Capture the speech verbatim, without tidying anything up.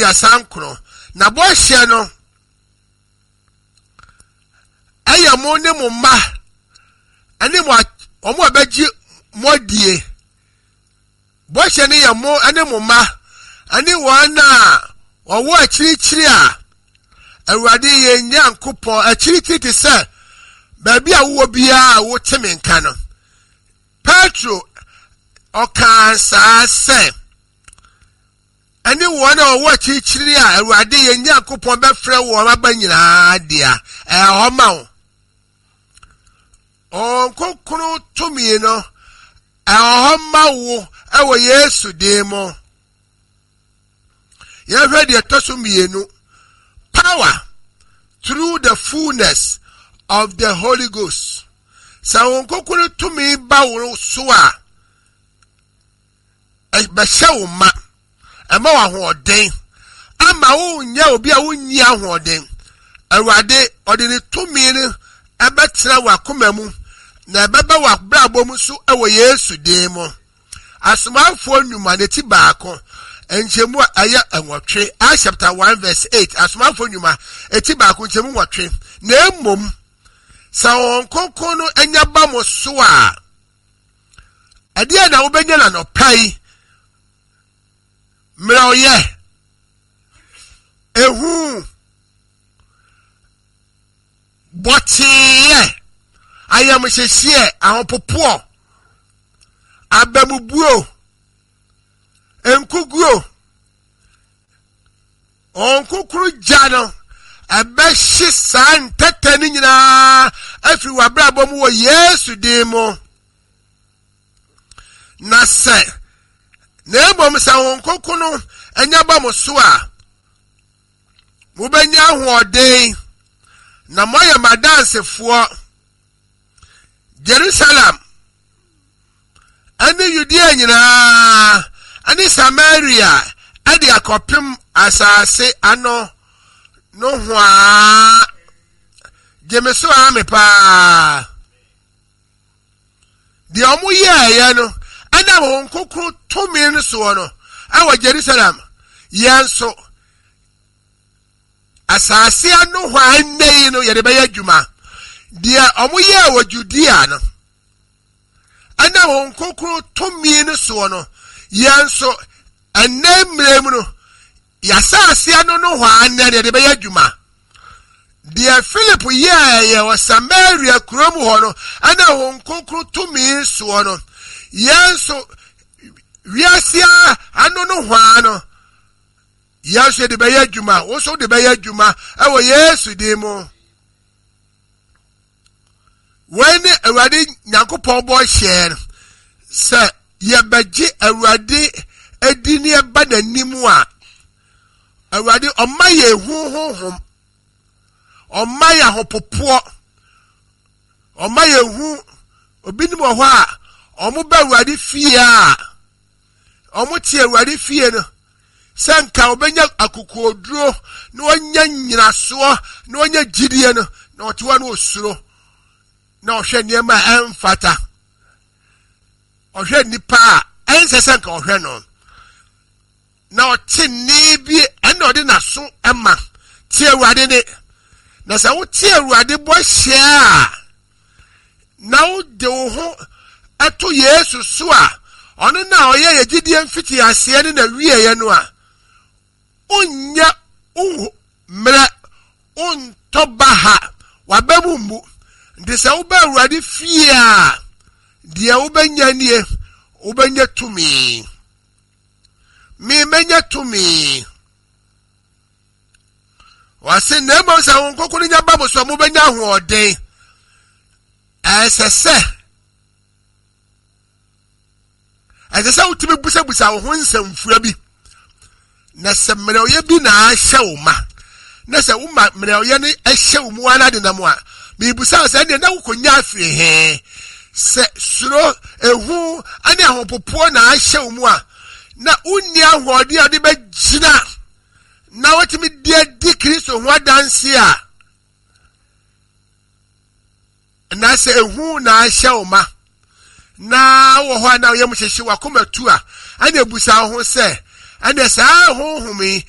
aduasa nkron. Na bɔhyɛ no ɛyɛ mo ne mo mma ɛne mo wɔn a bɛgye mo adie. Bɔhyɛ no yɛ mo ne mo mma ɛne wɔn a wɔwɔ akyirikyiri a Awurade yɛn Nyankopɔn, akyirikyiri te sɛ baabi a wowɔ biara a wote me nka no. Petro ɔkaa saa sɛ, ɛne wɔn a wɔwɔ akyirikyiri a Awurade yɛn Nyankopɔn bɛfrɛ wɔn aba nyinaa dea, ɛwɔ hɔ ma wo. Honhom Kronkron tumi no, ɛwɔ hɔ ma wo ɛwɔ Yesu din mu. Yɛhwɛ deɛ ɛtɔ so mmienu, power through the fullness of the Holy Ghost. Sɛ Honhom Kronkron tumi ba wo so a, bɛhyɛ wo ma, ɛma wo ahoɔden, ama wonyɛ obi a wonni ahoɔden. Awurade ɔde ne tumi no ɛbɛtena w'akoma mu na ɛbɛba w'abrabɔ mu so ɛwɔ Yesu din mu. Asomafoɔ Nnwuma ne ti baako nkyɛmu a ɛyɛ nwɔtwe, Acts chapter one verse eight. Asomafoɔ Nnwuma eti baako nkyɛmu nwɔtwe. Na mmom sɛ Honhom Kronkron no anya ba mo so a, ɛdeɛ na wobɛnya na nɔpa yi? Mmerɛwyɛ, ehu, bɔteeɛ, ayamhyehyeɛ, ahopopoɔ, abamubuo, nkuguo. Honhom Kronkron gya no ɛbɛhye saa ntɛtɛ no nyinaa afiri w'abrabɔ mu wɔ Yesu din mu. Na sɛ na mmom sɛ Honhom Kronkron no anya ba mo so a, mobɛnya ahoɔden na moayɛ m'adansefoɔ Jerusalem ɛne Yudea nyinaa ɛne Samaria ɛde akɔpem asase ano no hoa. Gyeme so ame paa. Deɛ ɔmo yɛɛyɛ no ɛnam Honhom Kronkron tumi no soɔ no ɛwɔ Jerusalem, yɛn nso asase ano hɔ a ɛnnɛ yi no yɛde bɛyɛ adwuma. Deɛ ɔmo yɛɛ wɔ Judea no ɛnam Honhom Kronkron tumi no soɔ no, yɛn nso ɛnnɛ mmerɛ mu no yɛasase ano no hɔ a ɛnnɛ yɛde bɛyɛ adwuma. Deɛ Philip yɛɛyɛ wɔ Samaria kurom hɔ no ɛnam Honhom Kronkron tumi soɔ no, yɛn nso wiase ano no hɔ a no yɛn nso yɛde bɛyɛ adwuma. Wo nso de bɛyɛ adwuma ɛwɔ Yesu din mu. Wei ne Awurade Nyankopɔn bɔ hyɛɛ no sɛ yɛbɛgye Awurade adi ne ɛba n'anim a, Awurade ɔma yɛ ehu honhom, ɔma yɛ ahopopoɔ, ɔma yɛ ehu. Obinom wɔ hɔ a ɔmo ba Awurade fie a, ɔmo te Awurade fie no sɛ nka ɔbɛnya akokoɔduro na ɔnya nyinasoɔ na ɔnya gyidie no, na ɔte hɔ no osuro na ɔhwɛ nneɛma a ɛmfata, ɔhwɛ nipa a ɛnsɛ sɛ nka ɔhwɛ no, na ɔte nne bi ɛna ɔde n'aso ɛma tie Awurade ne. Na sɛ wote Awurade bɔ hyɛ a, na wode wo ho ɛto Yesu so a, ɔno na ɔyɛ yɛ gyidie mfiti aseɛ ne na wieɛ no a, wonyɛ wo mmerɛ, wontɔ ba ha, waba mu mmu. Nti sɛ woba Awurade fie a, deɛ wobɛnya nie, wobɛnya tumi. Me mɛnya tumi. Wɔse na mmom sɛ Honhom Kronkron nya ba mo so a, mobɛnya ahoɔden. Ɛsɛ sɛ ɛsɛ sɛ wotumi busabusa wo ho nsɛmfua bi. Na sɛ mmerɛwyɛ bi na ahyɛ wo ma, na sɛ woma mmerɛwyɛ no hyɛ wo mu ara de nam a, miribusa sɛ ɛnneɛ na wokɔnya afiri he? Sɛ suro, ehu ne ahopopoɔ na ahyɛ wo mu a, na wonni ahoɔden a wode bɛgyina na wotumi de adi Kristo ho adanse a, na sɛ ehu na ahyɛ wo ma na wɔ hɔ a na woyɛ mu hyehye wakoma tu a, ɛna ebusa wo ho sɛ ɛna saa honhom yi